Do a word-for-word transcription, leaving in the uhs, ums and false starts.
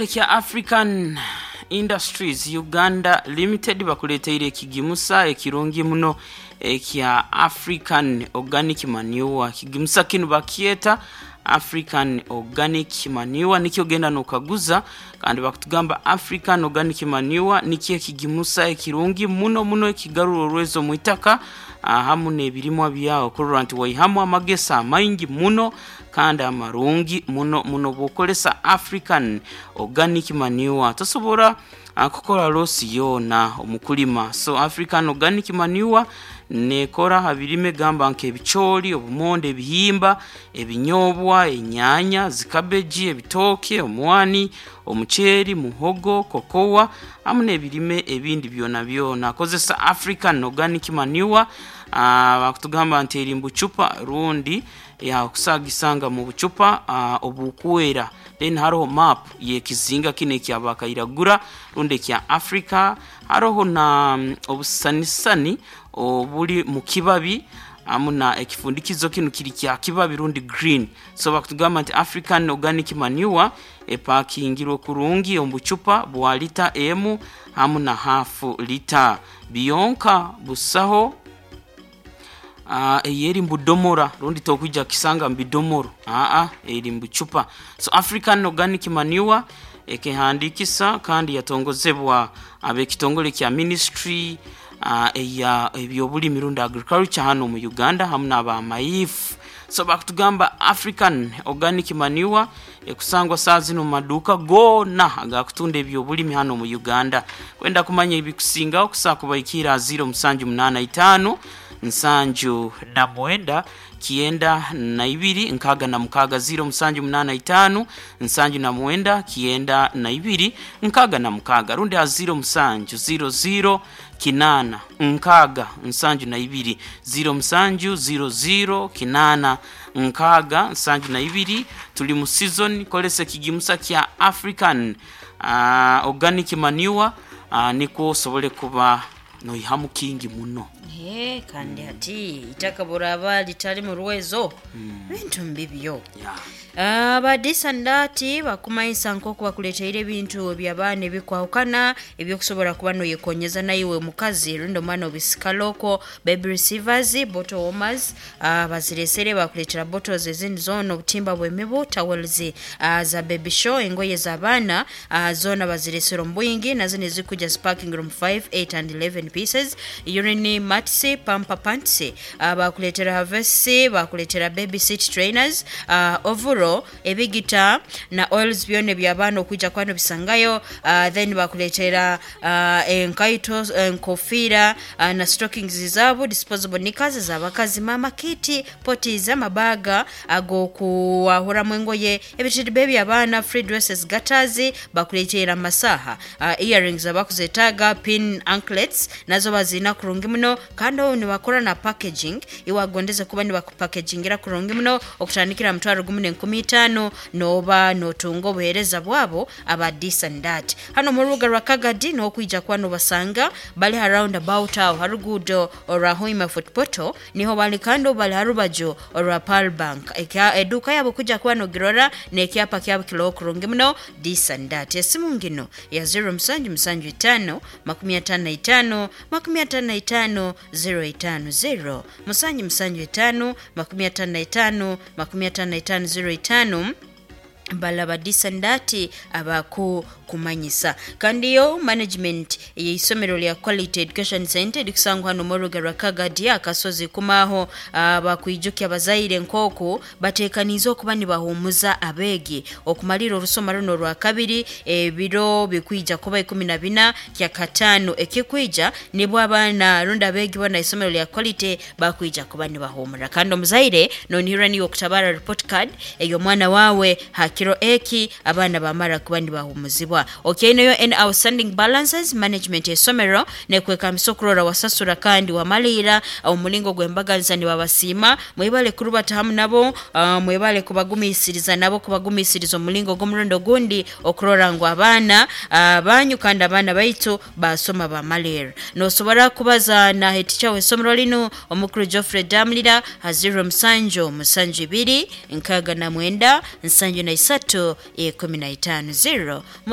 Ekya African Industries Uganda Limited bakuleteire ekigimusa ekirungi muno ekya African Organic Manure. Kigimusa kinu bakyeta African Organic Manure, nikyo genda nokaguza, kandi bakutugamba African Organic Manure nikyo ekigimusa ekirungi muno muno ekigarura orwezo mu itaka hamu n'ebirimwa byawe, kurora nti waihamu amagesa amaingi muno kandi amarungi muno muno. Bw'okozesa African Organic Manure tosobora kukora losi yoona omu kulima. So African Organic Manure nekora ha birime gamba nk'ebicooli, obumonde, ebihimba, ebinyobwa, enyaanya, zikabeji, ebitooke, omwani, omuceeri, muhogo, kokowa hamu n'ebirime ebindi byona byona. Kozesa African Organic Manure. Bakutugamba nti eri mu bucupa rundi yakusagisanga mu bucupa obukwera. Then haroho map y'ekizinga kinu ekya Bakairagura rundi ekya Africa, haroho na obusanisani obuli mu kibabi hamu na ekifundikizo kinu kiri kya kibabi rundi green. So bakutugamba nti African Organic Manure epakingirwe kurungi omu bucupa bwa lita emu hamu na hafu lita biyonka busaho. uh, eri mubudomora rundi tokwija kisanga mubidomoro, aa eri mubucupa. So African Organic Manure ekehandikisa kandi yatongozebwa ab'ekitongole kya ministry uh, eya ebyobulimi rundi agriculture hano mu Uganda hamu n'abamaifu. So bakutugamba African Organic Manure ekusangwa saa zino mu maduuka goona agakutunda ebyobulimi hano mu Uganda. Kwenda kumanya ebikusingaho, kusaa kubaikira ziro musanju munaana itaano nsanju na mwenda kienda na ibiri nkaaga na mukaaga, ziro musanju munaana itaano nsanju na mwenda kienda na ibiri nkaaga na mukaaga, rundi ha ziro musanju ziro ziro kinaana nkaaga nsanju na ibiri, ziro musanju ziro ziro kinaana nkaaga nsanju na ibiri. Tuli mu season, kolesa ekigimusa kya African uh, Organic Manure, uh, nikwo osobole kuba noihamu kingi muno. Ee, kandi hati itaka buraba litali mu rwezo, bintu mbibyo. Yeah. Abadisandati bakumanyisa nk'oku bakuleteire ebintu eby'abaana ebikwahukana ebyokusobora kuba noyekonyeza naiwe mukazi rundi omwana obisikala okwo: baby receivers, bottle warmers, uh, baziresere, bakuleetera bottles ezindi zoona, obutimba bw'emibu, towels uh, za baby show, engoye z'abaana uh, zoona baziresere omu bwingi, nazo nezikuja ziparking room five, eight and eleven pieces, urine mats, pamper pants, uh, bakuleetera harvest, bakuleetera baby seat trainers, uh, overall ebigita na oils byona ebyabaana okwija kuba nobisangayo. uh, then bakuleetera uh, enkaito, enkofiira uh, na stockings zaabo, disposable knickers z'abakazi, mama kit, potties, amabaga ag'okuwahuramu engoye, ebitiriba ebyabaana, free dresses, gaiters, bakuleetera amasaha, uh, earrings abakuzetaaga, pin anklets nazo bazina kurungi muno. Kandi obu nibakora na packaging, iwagondeze kuba nibakupackagingira kurungi muno, okutandikira mutwaro gumu n'enkumi itaano noba notunga obuheereza bwabo aba this and that. Hano mu rubuga rwa Kagadi n'okwija kuba nobasanga, bali ha roundabout aho ha ruguudo orwa Hoima Fort niho bali, kandi obu bali ha rubaju orwa Pearl Bank. Ekya- eduuka yabo kuja kuba nogirora n'ekyapa kyabo kiroho kurungi muno, this and that. Esimu ngino ya zero musanju musanju itaano makumi ataano na itaano makumi ataano na itaano zero itaano, zero musanju musanju itaano makumi ataano na itaano makumi ataano na itaano zero itaano. Balaba disandati abaku kumanyisa. Kandi yo management y'isomero lya Quality Education Center likusangwa hano mu rubuga rwa Kagadi akasozi kumaho, bakwijukya abazaire nk'oku bateekaniize okuba nibahumuza abeegi okumalira orusoma runo rwa kabiri. Ebiro bikwija kuba ikumi na bina kya kataano ekikwija, nibwo abaana rundi abeegi bona isomero lya Quality bakwija kuba nibahumura. Kandi omuzaire nonihirwa niwe okutabara report card ey'omwana wawe ha kiro eki abaana bamara kuba nibahumuzibwa. Okyainayo any outstanding balances, management esomero nekwekambisa okurora wasasura kandi wamalira omulingo gw'embaganiza. Nibabasiima, mwebale kurubata hamu nabo, uh, mwebale kubagumisiriza nabo kubagumisiriza omulingo gw'omurundi ogundi okurora ngu abaana uh, banyu kandi abaana baitu basoma bamalira. Nosobora kubaza na head teacher w'essomero linu, omukuru Geoffrey Damlira, ha zero musanju musanju ibiri nkaaga na mwenda nsanju na isatu ikumi na itaano, zero.